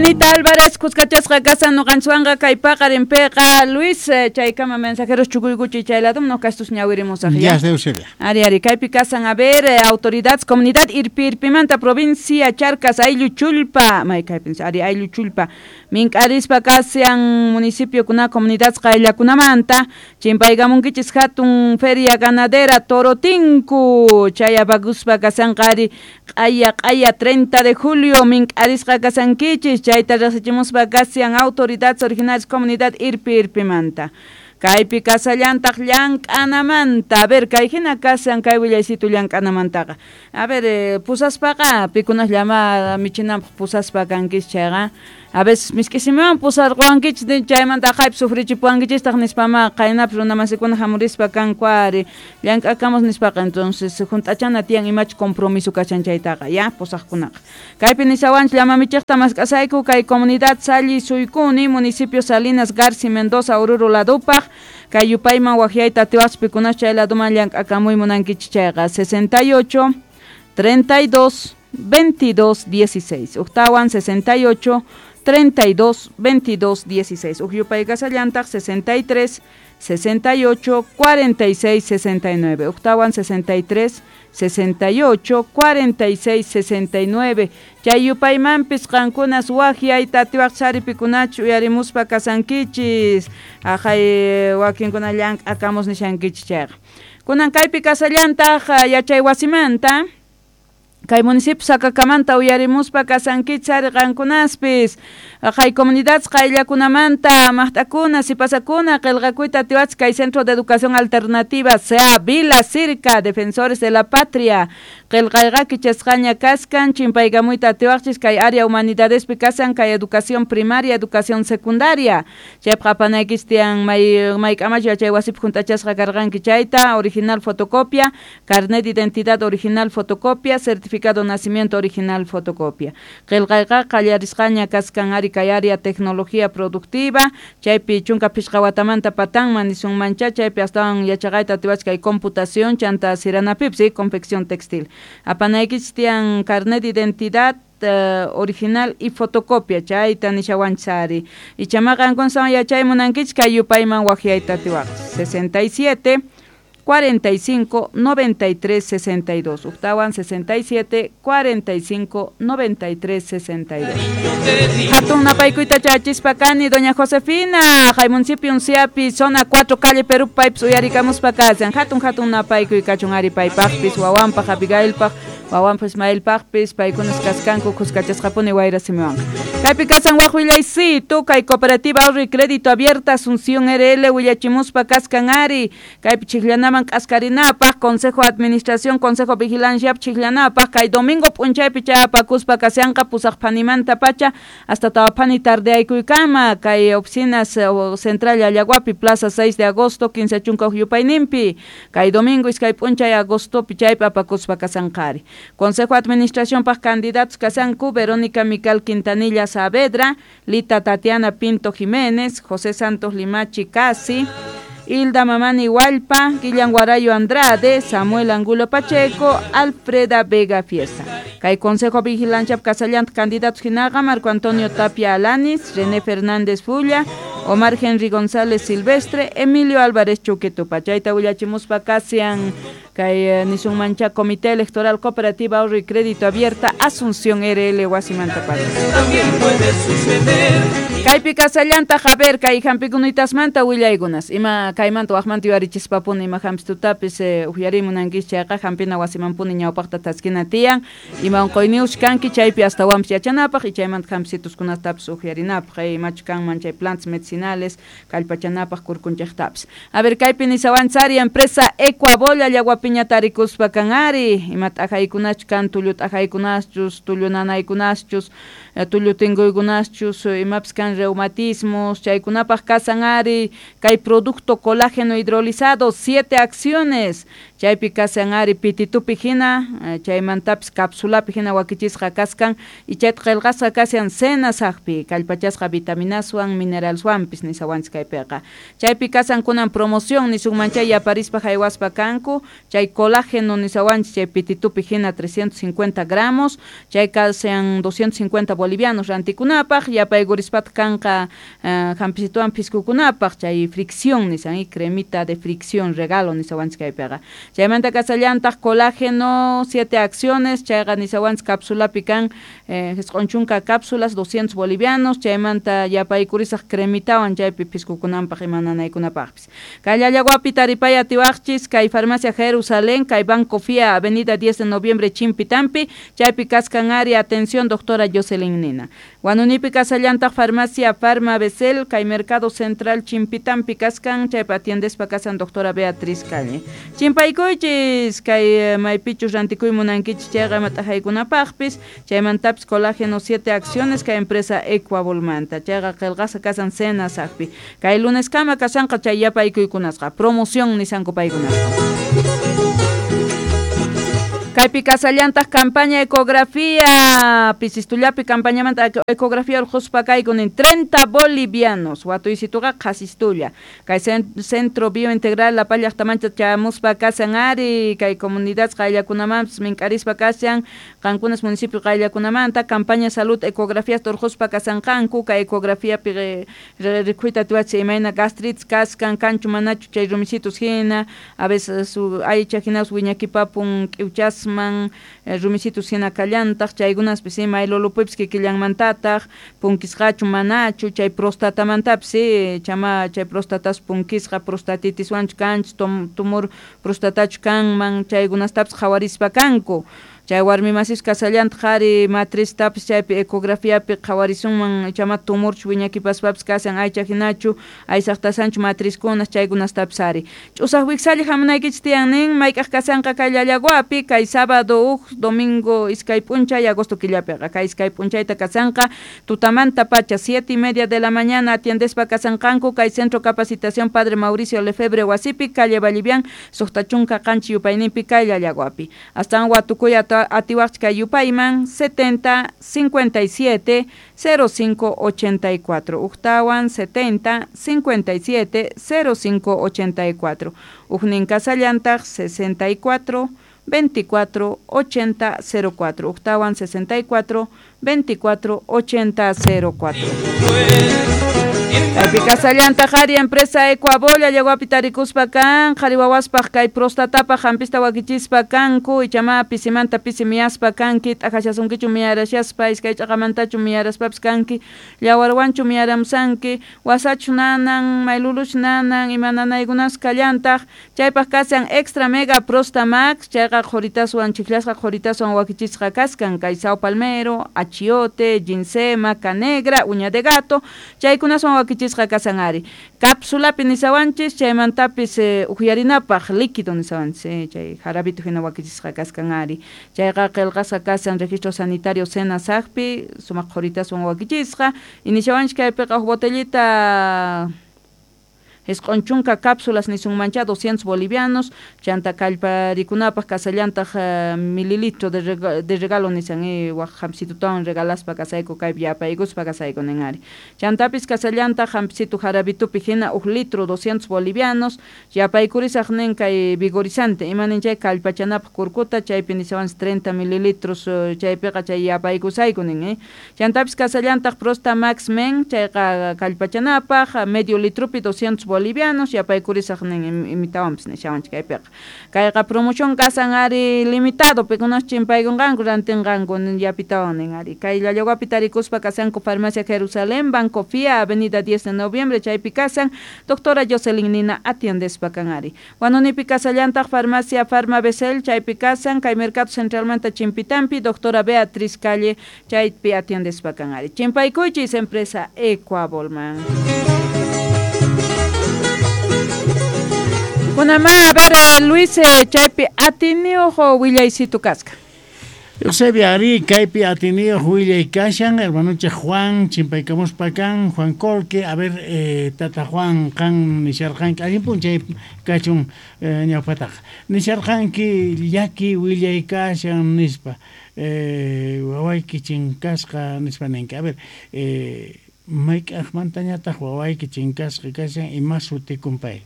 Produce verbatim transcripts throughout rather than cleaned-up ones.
Juanita Álvarez kuskachasqa kasan nuqanchwanqa kay paqarinpiqa. Luis, chaykama mensajeros chukuykuchi chay ladum no kastus ñawirimusaq. Ya, Eusebia. Ari, ari, kaypi kasan, a ver, autoridades, comunidad Irpi Irpimanta, provincia Charcas, ayllu Chullpa, may kaypin, ari, ayllu Chullpa, mink'arispa kasian municipio kuna comunidades qayllakunamanta, chimpaykamunkichis hatun feria ganadera Torotinku, chay apakuspa kasanqa ari q'aya q'aya treinta de julio mink'arisqa kasankichis, chayta riqsichimuspa kasian autoridades originales comunidad Irpi Irpimanta. Kaypi kasallantaq llank'anamanta. A ver, kay hina kasan kay willaysitu llank'anamantaqa. A ver, eh, pusaspaqa pikunas llama michinanpaq pusaspa kankis chayqa. A veces misk'isimuwan pusarquwankichis chaymanta aqhaypi sufrichipuwankichistaq nispama qaynapis runamasikuna hamurispa kanku ari llank'akamos nispaqa, entonces hunt'achana tiyan imachu compromiso kashan chaytaqa, ya, pusaqkunaqa. Kaypi nisawanchik llama michiqta mask'asayku kay comunidad Salli Suykuni, municipio Salinas Garci Mendoza, Oruro ladupaq, kay yupayman waqyayta atiwaqchis pikunas chay laduman llank'akamuy munankichis chayqa sesenta y ocho, treinta y dos, veintidós, dieciséis. Octawan sesenta y ocho, treinta y dos, veintidós, dieciséis. Ukyupay kasallantaq sesenta y tres, sesenta y ocho, cuarenta y seis, sesenta y nueve. Octawan sesenta y tres, sesenta y ocho, cuarenta y seis, sesenta y nueve. Chay yupaymanpis qankunas waqyayta atiwaq saripikunachu uyarimuspa kasankichis. Aqhay wakinkuna llank'akamos nishankichis chayqa. Kunan kaypi kasallantaq yachay wasimanta. Kay municipio Sacacamanta uyarimuspa kasankichis ari qankunaspis. Kay comunidades qayllakunamanta maqt'akuna sipasakuna qillqakuyta atiwachis kay Centro de Educación Alternativa C A Vila Circa, Defensores de la Patria. Qillqayqa kichasqaña kaskan chimpaykamuyta atiwaqchis kay área humanidadespi kasan kay educación primaria, educación secundaria. Chaypaq apanaykichis tiyan may mayk'amachu yachay wasipi hunt'achasqa karqanki chayta, original fotocopia, carnet de identidad original fotocopia, certificado de nacimiento original fotocopia. Qillqayqa qallarisqaña kaskan ari kay área tecnología productiva, chaypi chunka pishqa watamanta patanman nisunmancha, chaypi astawan yachaqayta atiwachis kay computación, chanta siranapipis, ¿sí? Confección textil. Apanaykichis tiyan carnet de identidad Uh, original y fotocopia, chayta nishawanchis ari. Ichamaqa qankunawan yachay munankichis kay yupayman waqyayta atiwaqchis. sesenta y siete, cuarenta y cinco, noventa y tres, sesenta y dos. Octawan sesenta y siete, cuarenta y cinco, noventa y tres, sesenta y dos. Hatun napaykuyta chachispa kani, doña Josefina, hay municipio Unciapi, zona cuatro, calle Perú, paypis uyarikamuspa kasan. Hatun, hatun napaykuy kachun ari paypaqpis, wawanpaq, Abigailpaq, wawanpaq, Ismailpaqpis, paykunas kaskanku, kuskachasqapuni wayra simiwanqa. Kaypi kasan waq willaysitu, kay cooperativa ahorro y crédito abierta, Asunción R L, willachimuspa kaskan ari, kaypi chikllanaman k'askarinapaq, Consejo de Administración, Consejo Vigilancia chikllanapaq, kay domingo p'unchaypi chayapakuspa kasyanqa pusaq phanimanta pacha hasta tawaphani tardeaykuykama, kay oficinas central Allaguapi, Plaza seis de agosto, quince chunka huk yupayninpi, kay domingo iskay p'unchay agostopi chaypi apakuspa kasanqari. Consejo de Administración paq candidatos kasanku Verónica Mical Quintanilla Saavedra, Lita Tatiana Pinto Jiménez, José Santos Limachi Casi, Hilda Mamani Hualpa, Guillan Guarayo Andrade, Samuel Angulo Pacheco, Alfreda Vega Fiesta. Kay Consejo Vigilancia Casallant candidatos hinaqa Marco Antonio Tapia Alanis, René Fernández Fulla, Omar Henry González Silvestre, Emilio Álvarez Chuquetupa. Chayta willachimuspa kasian kay nisunmancha Comité Electoral Cooperativa Ahorro y Crédito Abierta Asunción R L wasimanta pacha. También puede suceder. Kaypi kasallanta Javier kay hampikunitasmanta willaykunas. Ima kaymanta waqmanta yuyarichispapuni ima hampistutapis eh, uhyarimunankichis chayqa hampina wasimanpuni ñawpaqta taskina tiyan. Ima unquyniuch kanki chaypi astawanpis yachanapaq y chaymanta hampituskunatapis uhyarinapaq, eh, imachu kanman chay plantas medicinales kallpachanapaq kurkunchaqtapis. A ver, kaypi nisawanchari empresa Ecuabola Llaguapiña tarikuspa kan ari, ima t'ajaykunachu kan tullu t'ajaykunaschus, tullu nanaykunaschus, tullu tinkuykunaschus, imapis kan reumatismos, chaykunapaq kasan ari, kay producto colágeno hidrolizado, siete acciones, chaypi kasan ari pititupi hina, chaymantapis cápsulapi hina wakichisqa kaskan, y chayta qillqasqa kashan senasaqpi, kallpachasqa vitaminaswan, mineralswanpis. Chimpitampi nisawanchis kaypiqa. Chaypi kasan kunan promoción nisunman chay yaparispa haywaspa kanku, chay colágeno nisawanchis chay pititupi hina trescientos cincuenta gramos, chay kasan doscientos cincuenta bolivianos rantikunapaq, yapaykurispat kanqa uh, hampisituan piskukunapaq chay fricción nisan y cremita de fricción regalo nisawanchis kaypiqa. Chaymanta kasallantaq colágeno siete acciones, chayqa nisawanchis cápsulapi kan eh, jisq'un chunka cápsulas doscientos bolivianos, chaymanta yapaykurisaq cremitawan chaypi piskukunanpaq ima nanaykunapaqpis. Kay Llallaguapi taripay atiwaqchis kay Farmacia Jerusalén, kay Banco Fia, Avenida diez de Noviembre, Chimpitampi, chaypi kaskan área atención doctora Jocelyn Nina. Huanunipi kasallantaq Farmacia Farma Becel, kay Mercado Central Chimpitampi kaskan, chaypi atiendespa kasan doctora Beatriz Calle. Chimpaykuychis kay maypichus rantikuy munankichis chayqa mat'ajaykunapaqpis, chaymantapis colágeno siete acciones kay empresa Ecuabolmanta, chayqa qillqasqa kasan Senasaqpi. Kay lunes kama kasanqa chay yapaykuykunasqa, promoción nisanku paykunasqa. Kaypi kasallantaq campaña ecografía, pisistullapi campañamanta ecografía urquspa kaykunin treinta bolivianos, watuysituqa qhasistulla. Kay Centro Biointegral La Paz llaqtamancha chamuspa kasan ari, kay comunidad qayllakunamanpis mink'arispa kasan, qankunas municipio qayllakunamanta, campaña salud ecografía urquspa kasanqanku, kay ecografiapi rikhuyta atiwachi imayna gastritis kaskan, kanchu manachu chay rumisitus hina, a veces su aycha hinas wiñakipapun k'iwchas man rumisitus hina kallantaq, chaykunaspis maylulupipis kikillanmantataq, punkisqachu manachu, chay prostatamantapis chama chay prostatas punkisqa, prostatitiswanchu kanchu, tumor prostatachu kanman, chaykunastapis qhawarispa kanku. Chay warmi masis kasallantaq qhari matriztapis chaypi ecografiapi qhawarisunman chama tumorchu wiñakipaspapis kasan aycha hinachu aysaqtasanchu matrizkunas chaykunastapis ari. Ch'usaq wiksalla hamunaykichis tiyan nin mayk'aq kasanqa kay Llallaguapi kay sábado huk domingo iskay p'unchay agosto killapiqa kay iskay p'unchayta kasanqa tutamanta pacha siete y media de la mañana atiendespa kasanqanku kay Centro Capacitación Padre Mauricio Lefebvre wasipi calle Vallivian suqta chunka qanchis yupayninpi kay Llallaguapi. Astawan watukuy atiwaqchik kay yupayman setenta cincuenta y siete cero cinco ochenta y cuatro, uktawan setenta cincuenta y siete cero cinco ochenta y cuatro, uknin kasallantaq sesenta y cuatro veinticuatro ochenta cero cuatro, uktawan sesenta y cuatro veinticuatro ochenta cero cuatro. Kaypi kasallantaq qhari empresa Ecuabolla Llallaguapi tarikuspa kan, qhari wawaspaq kay prostatapaq hampista wakichispa kanku, ichama pisimanta pisi miyaspa kanki, t'aqashasunkichu miyarashaspa, iskay ch'aqamantachu miyaraspapis kanki, llawarwanchu miyaramusanki, wasachu nanan, mayluluchu nanan, ima nanaykunas kallantaq, chaypaq kasan extra mega prosta max, chayqa qhuritaswan chiklasqa qhuritaswan wakichisqa kaskan, kay sao palmero, achiote, ginseng, maca negra, uña de gato, chaykunaswan wakichisqa kasan ari. Cápsulapi nisawanchis, chaymantapis eh, uqyarinapaq líquido nisawanchis, eh, chay jarabito hina wakichisqa kaskan ari. Chayqa qillqasqa kasan registro sanitario Senasaqpi, sumaq qhuritaswan wakichisqa, y nisawanchis kaypiqa huk botellita jisq'un chunka cápsulas nisunmancha doscientos bolivianos, chanta kallparikunapaq kasallantaq uh, mililitro de, rega, de regalo nisan eh, waq hampisitutawan regalaspa kasayku kaypi yapaykuspa kasayku nin ari. Chantapis kasallantaq hampisitu jarabitupi hina huk litro doscientos bolivianos, yapaykurisaq nin kay vigorizante, ima nin chay kallpachanapaq kurkuta, chaypi nisawanchis treinta mililitros uh, chaypiqa chay yapaykusayku nin eh. Chantapis kasallantaq Prosta Max Men, chayqa kallpachanapaq medio litropi doscientos bolivianos, yapaykurisaq nin imitawanpis nishawanchik kaypiqa. Kayqa promoción kasan ari limitado, pikunas chimpaykunqanku rantinqanku yapitawan nin ari. Kay Llallaguapi tarikuspa kasanku Farmacia Jerusalén, Banco Fia, Avenida diez de Noviembre, chaypi kasan, doctora Jocelyn Nina atiendespa kan ari. Huanunipi kasallantaq Farmacia Farma Becel, chaypi kasan, kay Mercado Centralmanta Chimpitampi, doctora Beatriz Calle, chaypi atiendespa kan ari. Chimpaykuychis empresa Ecuabolman. Kunama, a ver, Luis, chaypi atiniojo willaysitu kasqa. Eusebia ari, kaypi atiniojo willay kashan, hermanucha Juan, chimpaykamuspa kan, Juan Colque, a ver, eh, tata Juan, kan nisharqanki, allin p'unchay kachun eh, ñawpataqa. Nisharqanki llaki willay kashan nispa, eh, wawayki chinkasqa nispa ninki. A ver, eh, Mayk'aqmantañataq wawayki chinkasqa kashan ima sutikun pay?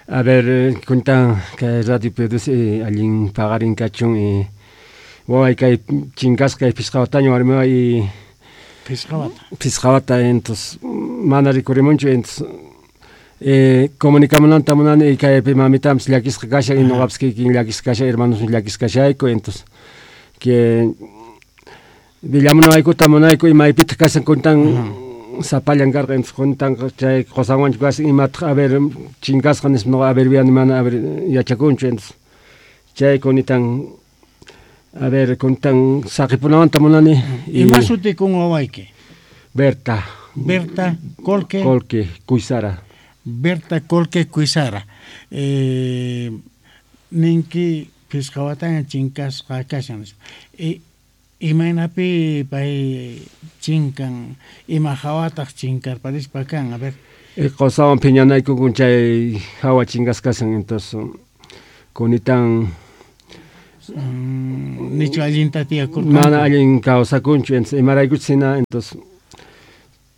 A ver, kuntan kay radio produce allin paqarin kachun y waway kay chinkasqa kay phisqa wataña warmiway y Phisqa wata. Phisqa wata entonces mana rikurimunchu entonces eh, comunicamunanta munani y kaypi mamitanpis llakisqa kashan y nuqapis kikin llakisqa kashan hermanosmi llakisqa kashayku entonces que villamunawaykuta munayku y maypitaq kashan kuntan sapallan karqa entonces kuntan chay qusanwanchu kashan imataq a ver chinkasqa nispa nuqa a ver viani mana a ver yachakunchu entonces chay kunitan a ver kuntan saqipunawanta munani y Ima sutikun wawayki? Berta. Berta Colque. Colque Cuizara. Berta Colque Cuizara. Eh, ninki phisqa wataña chinkasqa kashan nispa. E, imaynapi pay chinkan ima hawataq chinkarparispa kan a ver. E, qusawan phiñanaykukun chay hawa chinkasqa kashan entonces kunitan Mm, nichu allinta tiyakurqanku? Mana allin kawsakunchu entonces imaraykuchus hina entonces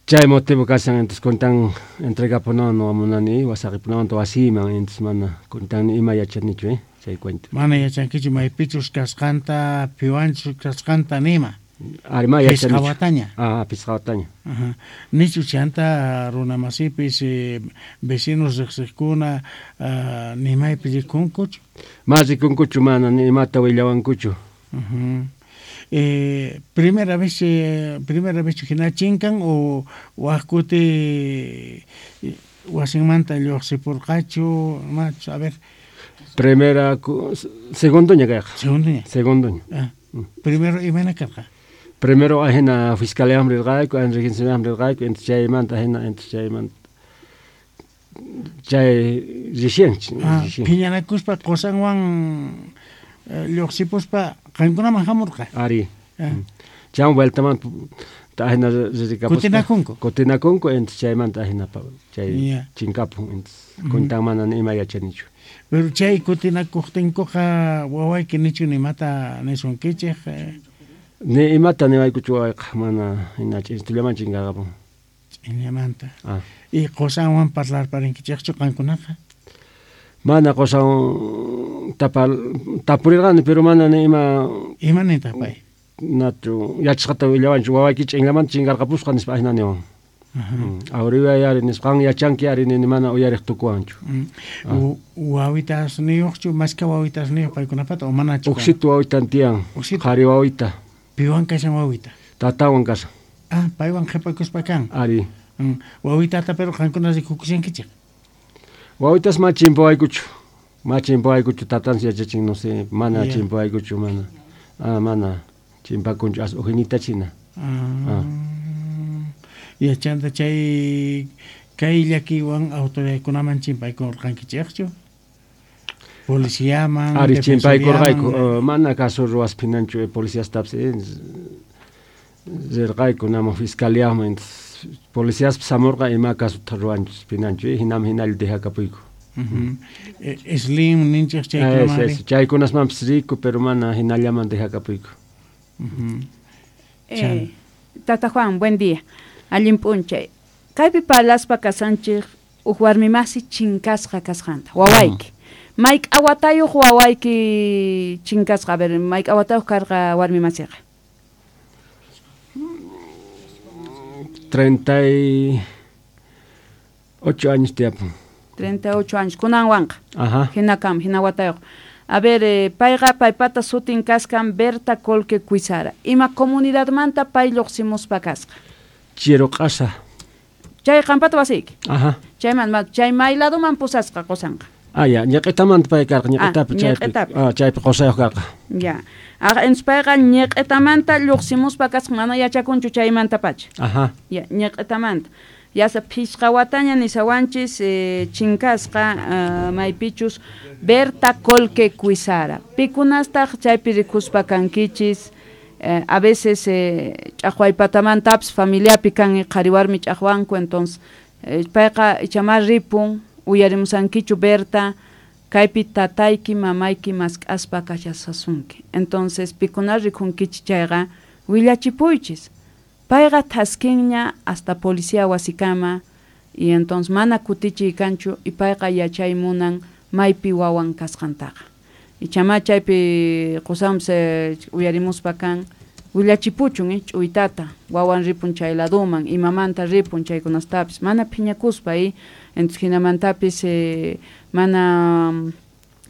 chay motivo kashan entonces kuntan entregapunawan nuqa munani saqipunawanta wasiyman entonces mana kuntan ima yachanichu eh chay cuento. Mana yachankichu maypichus kasqanta piwanchus kasqanta nima. Ari ma Phisqa yachanichu. wataña. Ah, phisqa wataña. Ajá. Nichu chanta runa masipis eh, vecinos riqsiqkuna uh, nimaypi rikunkuchu? Ma rikunkuchu mana ni imata willawankuchu. Uh-huh. Eh, primera vez eh, primera vez hina chinkan o wak kuti wasinmanta lluqsipurqachu machu a ver. Primera segundo ña kayqa. Segundo ña. Segundo ña. Ah, primero imayna karqa? Primero ajina fiscalíaman rirqayku, regencionaman rirqayku, entonces chaymanta ajina, entonces chaymanta chay recién, Ah, recién. phiñanakuspa qusanwan eh, lluqsipuspa qankunaman hamurqa. Ari. Ah. Chay vueltamanta ajina ririkapuspa. Kutinakunku. Kutinakunku, entonces chaymanta ajina chay Yeah. chinkapun, entonces kuntan mana ni ima yachanichu. Pero chay kutinakuqtinkuqa wawayki nichu nimata nisunkichik eh, Ni imata niwaykuchu wawayqa mana hina ch'intullaman chinkaqapun. ch'inllamanta. Ah. Y qusanwan parlarparinkichikchu qankunaqa? Mana qusan tapa tapurirqani pero mana ni ima Ima nintaq pay? nachu yachasqata willawanchu wawayki ch'inllamanta chinkarqapusqa nispa ajina niwan. Awriway ari nispa qan yachanki ari nini mana uyariq tukuwanchu. Mm. Wawitasniyuqchu mashka wawitasniyuq paykunapata o manachu? Uqsitu wawitan tiyan. Uqsitu. Qhari wawita. Piwan kashan wawita? Tatawan kashan. Ah, paywan qhipakuspa kan. Ari. Mm. Wawitata pero qankuna rikukushankichik. Wawitas ma chimpawaykuchu. Ma chimpawaykuchu tatansi yachachin no sé, mana Yeah. chimpawaykuchu mana. Ah, mana chimpakunchu as ujinita china. Ah. Yachanta chay kay llakiwan autoridadkunaman chimpaykurqankichikchu? Policiaman, Ari chimpaykurqayku, defensoriaman. uh, mana caso ruwaspinanchu eh, policiastapis eh, rirqayku naman fiscaliaman entonces policiaspis hamurqa ima casota ruwanchus pinanchu eh, hinaman hinalla dejakapuyku. Uh-huh. Eh, Slim ninchik chaykunaman. Es, es, chaykunasmanpis riku pero mana hinallaman dejakapuyku. Uh-huh. Eh, Tata Juan, buen día. Allin p'unchay. Kaypi parlaspa kasanchik uj warmimasi chinkasqa kasqanta, wawayki. Mayk'a watayuq wawayki chinkasqa, a ver, mayk'a watayuq karqa warmimasiqa? Treinta y ocho años tiyapun. Treinta y ocho años, kunanwanqa. Ajá. Hinakam, hina watayuq. A ver, eh, payqa paypata sutin kaskan Berta Colque Cuizara. Ima comunidadmanta pay lluqsimuspa kasqa? Chiruq'asa. Chay qampata wasiyki. Ajá. Chayman, ma, chay may ladoman pusasqa qusanqa. Ah, ya, ñiq'itamanta pay karqa, ñiq'itapi Ah, chaypi. ñiq'itapi. Ah, chaypi qusayuq karqa. Ya. Ah, entonces payqa ñiq'itamanta lluqsimuspa kasqa, mana yachakunchu chaymantapacha. Ajá. Ya, ñiq'itamanta. Yasa phisqa wataña nisawanchis eh, chinkasqa uh, maypichus Berta Colque Cuizara. Pikunastaq chaypi rikuspa kankichis. Eh, a veces eh, ch'aqwaypatamantapis familiapi kan qhari warmi ch'aqwanku, entonces eh, payqa ichamá ripun uyarimusankichu Berta kaypi tatayki mamayki mask'aspa kashasasunki. Entonces pikuna rikunkichis chayqa willachipuychis. Payqa thaskinña hasta policía wasikama y entonces mana kutichiy kanchu y payqa yachay munan maypi wawan kasqantaqa. Y chama chaypi qusanpis uyarimuspa kan willachipuchun eh, ch'uytata wawan ripun chay laduman imamanta ripun chaykunastapis mana phiñakuspa eh, entonces hinamantapis eh, mana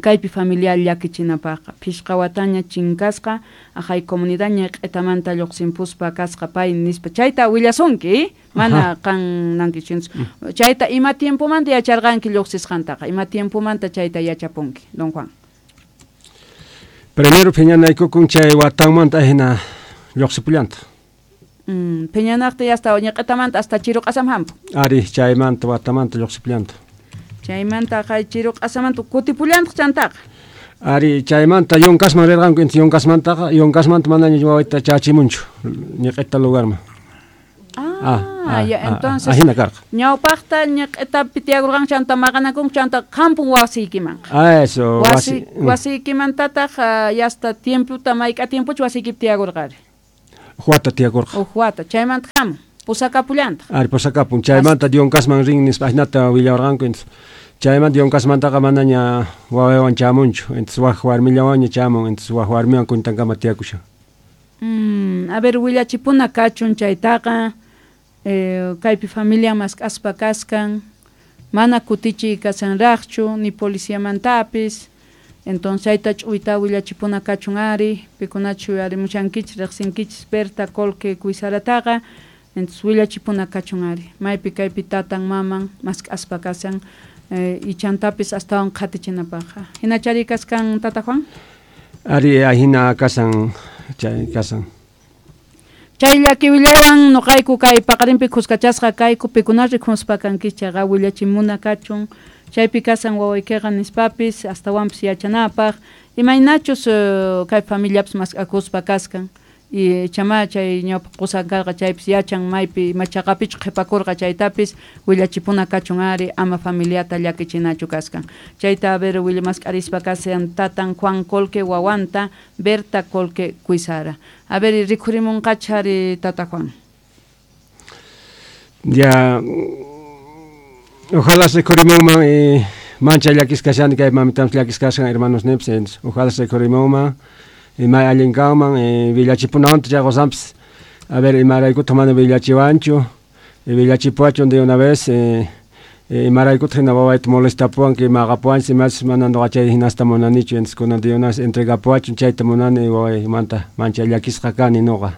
kaypi familiar llakichinapaqqa phishqa wataña chinkasqa aqhay comunidad ñiq'itamanta lluqsinpuspa kasqa pay nispa chayta willasunki eh? Mana qan nankichinchu chayta ima tiempomanta yacharqanki lluqsisqantaqa ima tiempomanta chayta yachapunki don Juan. Primero phiñanaykukun chay watanmanta hina lluqsipullanta. Mm, phiñanaqta hasta ñiq'itamanta hasta chiruq'asam hampun. Ari chaymanta watamanta lluqsipullanta. Chaymanta qay chiruq'asamanta kutipullantaq chantaqa. Ari chaymanta yunkasman rirqanku inti yunkasmantaqa yunkasmanta manaña wawayta chachimunchu ñiq'ita lugarman. Ah, ah, ya, entonces ahina karqa. Ñawpaqta ñiq'itapi tiyakurqanku chanta maqanakunku chanta hampun wasiykimanqa. Ah, eso, wasi wasiykimantataq yasta tiempota mayk'a tiempochu wasiykipi tiyakurqari. Huata tiyakurqa. Uj wata chaymanta hamun pusakapullantaq. Ari pusakapun chaymanta yunkasman rin nispa ahinata willawarqanku entonces chaymanta yunkasmantaqa manaña wawaywan chamunchu entonces waj warmillawanña chamun entonces waj warmiwan kuntankama tiyakushan. Mm, a ver willachipuna kachun chaytaqa eh, kaypi familia mask'aspa kaskan mana kutichiy kasanraqchu ni policiamantapis entonces chayta ch'uyta willachipuna kachun ari pikunachu arimushankichis riqsinkichis Berta Colque Cuisarataqa entonces willachipuna kachun ari maypi kaypi tatan maman mask'aspa kasan eh, y chantapis astawan qhatichinapaqqa hinachari kaskan tata Juan. Ari ahina kasan chay kasan. Chay llaki willaywan nuqayku kay paqarinpi khuskachasqa kayku pikuna rikhuspa kankichis chayqa willachimuna kachun chaypi kasan wawaykiqa nispapis astawanpis yachanapaq imaynachus uh, kay familiapis mask'akuspa kaskan y chama chay ñawpa qusan karqa chaypis yachan maypi machaqapichu qhipakurqa chaytapis willachipuna kachun ari ama familiata llakichinachu kaskan chayta a ver willamask'arispa kasan tatan Juan Colque wawanta Berta Colque Cuisara. A ver rikhurimunqacha ari tata Juan. Ya ojalá se rikhurimunman eh, mancha llakis kashani kay mamitanpis llakis kashan hermanos nipis ojalá se rikhurimunman y may allin kanman eh, villachipunawanta chay qusanpis a ver imaraykutaq mana villachiwanchu villachipuwachun de una vez eh, eh, imaraykutaq hina wawayta molestapuwan que maqapuwanchis imachis mana nuqa chay hinasta munanichu entonces kunan de una vez entregapuwachun chayta munani wawaymanta mancha llakisqa kani nuqa.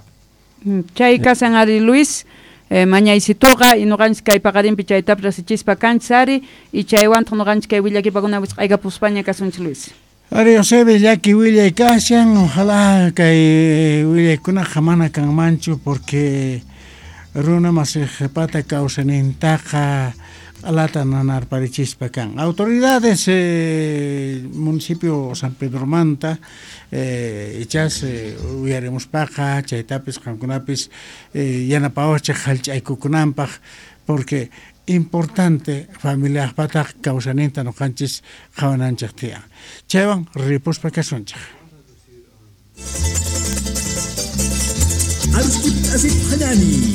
Chay kasan ari Luis eh, mañaysituqa y nuqanchis kay paqarinpi chaytapis riqsichispa kanchis ari y chaywantaq nuqanchis kay willakipakuna wisq'aykapuspaña kasunchis Luis. Ari Eusebio llaki willay kashan ojalá kay willaykunaqa mana kanmanchu porque runa masiqpata kawsaynintaqa alata nanarparichispa kan. Autoridades eh, municipio San Pedromanta eh, ichas eh, uyarimuspaqa chaytapis qamkunapis eh, yanapawachik hallch'aykukunanpaq porque importante familiaqpataq kawsayninta nuqanchis qhawananchik tiyan. Chaywan ripuspa kasunchik.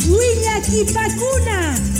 Willakipakuna.